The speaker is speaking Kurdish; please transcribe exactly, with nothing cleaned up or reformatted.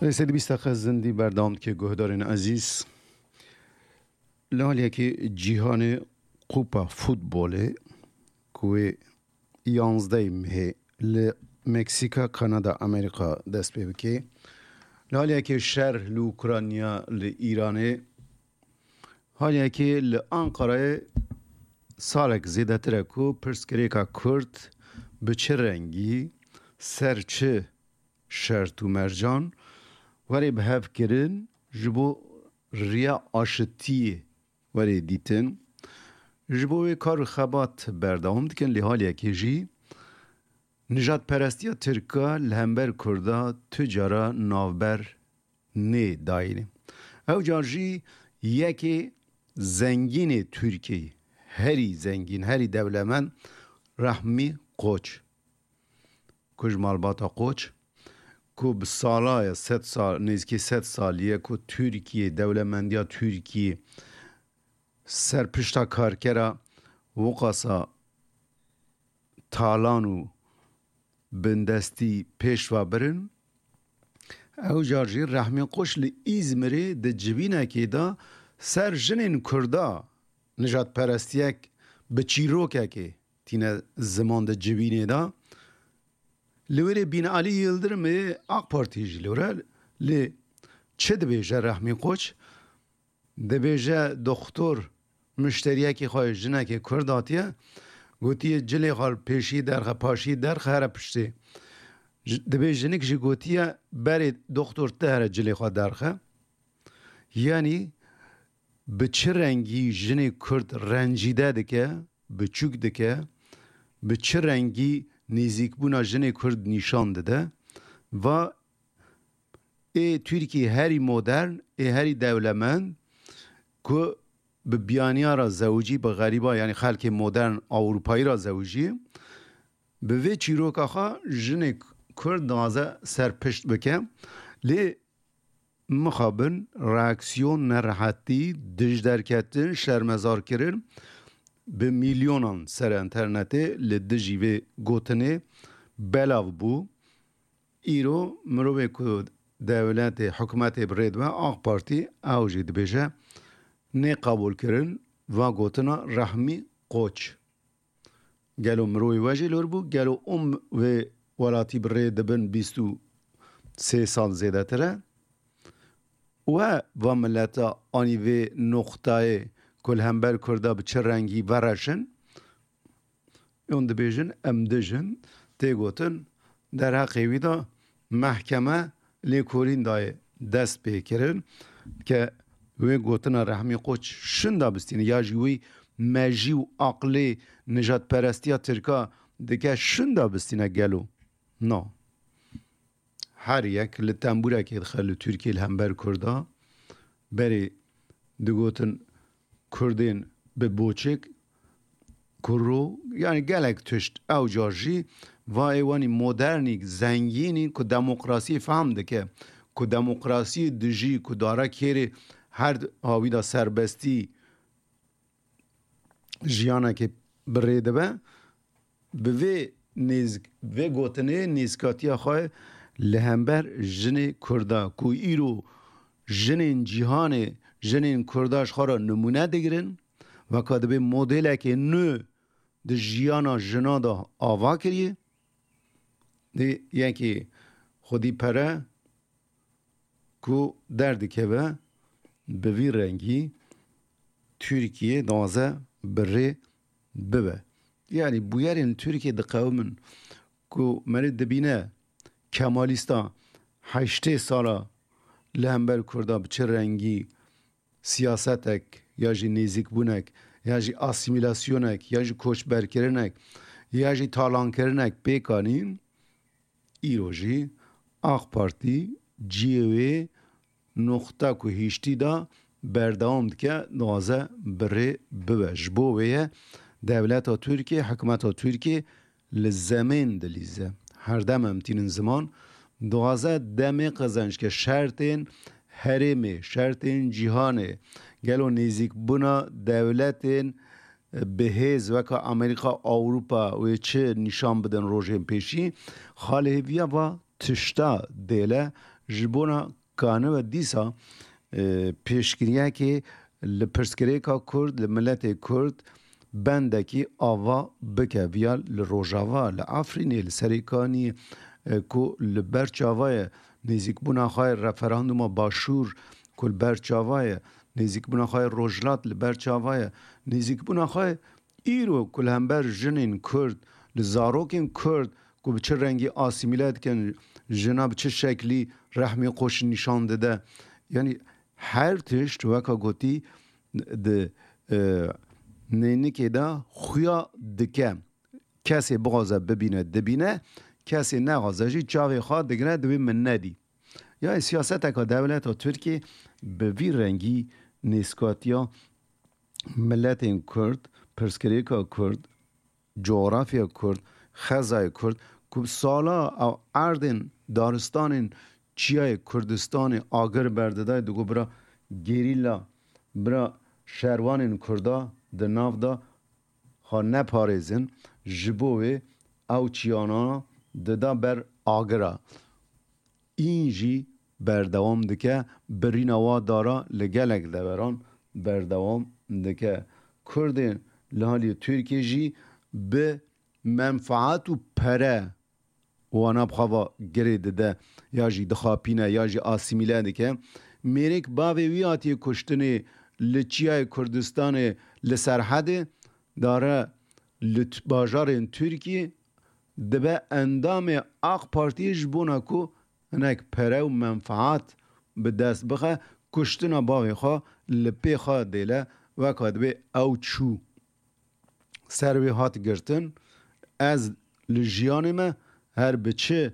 Lê sê bîst deqe zindî berdewam dike guhdarên ezîz. Li aliyekê cîhanê Kupa Futbolê ku wê yanzdeh mehê li Meksîka, Kanada, Amerîka dest pê bike. Li aliyekê şer li Ukrayna, li Îranê, haliyekê li Ankarayê salek zêdetir e ku pirsgirêka Kurd bi çi rengî, ser çi şert û mercan were bi hev kirin, ji bo riya aşitiyê were dîtin. Ji bo wê kar û xebat berdewam dikin, lê haliyekê jî nijadperestiya Tirka li hember Kurda tu cara navber nê dayînê. Ew car jî yekê zengînê Tirkiyeyê, herî zengîn, herî dewlemend Rehmî Koç, ku ji malbata Koç, ku bi sala ye, sed sal, nêzîkî sed salî ye ku Tirkiye, dewlemendiya Tirkiye ser pişta karkera wiqasa talan û bindestî pêş ve birin. Ew car jî Rehmî Koç li Îzmirê di civînekê de ser jinên Kurda nijadperestiyek bi çîrokekê tîne ziman di civînê de. Li wêrê Bînalî Yildirimê, AK Partî jî li were, lê çi dibêje Rehmî Koç? Dibêje, doxtor muşteriyekî xwe, jinekê Kurd hatiye, gotiye, cilê xwe pêşî derxe, paşî derxe, here piştê. Ji-, dibê jinik jî gotiye, berê doxtor, tu here cilê xwe derxe. Yanî bi çi rengî jinê Kurd rencîde dike, biçûk dike, bi çi rengî nêzîkbûna jinê Kurd nîşan dide, va ê Tirkî herî modern, ê herî dewlemend, ku bi biyaniya re zewicî, bi xerîba, yanî xelkê modern Ewropayî re zewicî, bi vê çîroka xwe jinê Kurd dixwaze serpişt bike. Lê mixabin reaksiyon, nerehetî, dijderketin, şermezarkirin bi milyonan ser enternetê li dijî vê gotinê belav bû. Îro mirovê ku dewletê, hikûmetê bi rê dibe, AK Partî, ew jî dibêje, nê qebûlkirin va gotina Rehmî Koç. Gelo mirovê we jî lor bû? Gelo ûm wê welatî bi rê dibin bîst û sê sal zêdetir e? We va mileta anî vê noqtayê ku li hember Kurda bi çi rengî vereşin? Hûn dibêjin, em dijin, tê gotin, derheqê wî de mehkeme lêkolîn dayê dest pê kirin ke wê gotina Rehmî Koç şinda bistîne, ya jî wî mejî û aqlê nijadperestiya Tirka dike şinda bistîne gelo? Na. Her yek li tembûrekê dixe li Tirkiyê li hember Kurda. Berê digotin Kurdên bi boçik, kuro, yanî gelek tişt. Ew car jî va ê wanî modernî, zengînî ku demokrasiyê fehm dike, ku demokrasiyê dijî, ku dare kêrê her hawî de serbestî jiyanekê bi rê dibe, bi vê nêz-, vê gotinê nêzikatiya xwe li hember jinê Kurda, ku îro jinên cîhanê, jinên Kurda ji xwe re nimûne digirin, weka dibê modelekê nû di jiyana jina de ava kiriye. Dê yekê xwedî pere ku derdikeve, bi vî rengî Tirkiye daze bi rê bibe. Yanî bûyerên Tirkiye diqewimin ku merê dibîne Kemalîsta heştê sala li hember Kurda bi çi rengî siyasetek ya jî nêzîkbûnek, ya jî asîmîlasyonek, ya jî koçberkirinek, ya jî talankirinek pêk anîn, îro jî AK Partî cihê wê noqta ku hiştî da berdewam dike, dixwaze bi rê bibe. Ji bo wê ye dewleta Tirkiyê, hikûmeta Tirkiyê li zemên dilîze. Her dem em tînin ziman, dixwaze demê qezenc ke şertên herêmê, şertên cîhanê, gelo nêzîkbûna dewletên bihêz weka Amerîka, Ewropa wê çi nîşan bidin rojên pêşî, xalê hêviya va tişta dêle Ji bona kanive dîsa e, pêşkiriyekê li pirsgirêka Kurd, li miletê Kurd bendekî ava bike. Viya li Rojava, li Efrînê, li Serêkaniyê e, ku li ber çava ye, nêzîkbûna xwe referanduma Başûr ku li ber çava ye, nêzîkbûna xwe Rojhilat li ber çava ye, nêzîkbûna xwe îro ku li hember jinên Kurd, li zarokên Kurd ku bi çi rengî asîmîle dikin, jina bi çi şeklî rehmê xwe nîşan dide. Yanî her tişt weka gotî di e, neynikê de xuya dike. Kesê bixwaze bibîne, dibîne, kesê nexwaze jî çavê xwe digire, dibê min nedî. Yanî siyaseteka dewleta Tirkiyê bi vî rengî nêskatiya miletên Kurd, pirsgirêka Kurd, coğrafya Kurd, xezayê Kurd ku bi sala ew erdên daristanên çiyayê Kurdistanê agir berdidayê, digot bira gerîla, bira şerwanên Kurda di nav de xwe neparêzin, ji bo wê ew çiyana dida ber agira. În jî berdewam dike, birîna wa dara li gelek deveran berdewam dike. Kurdên li halî Tirkiyê jî bi menfaat û pere wana bi xwe ve girê dide ya jî dixapîne ya jî asîmîle dike. Mêrik bavê wî hatiye kuştinê li çiyayê Kurdistanê li Serhedê dare li t-, bajarên Tirkiyê dibe endamê AK Partiyê ji bona ku hinek pere û menfaat bi dest bixe, kuştina bavê xwe li pê xwe dêle, weka dibê ew çû. Ser wê hat girtin, ez li jiyanê me her bi çi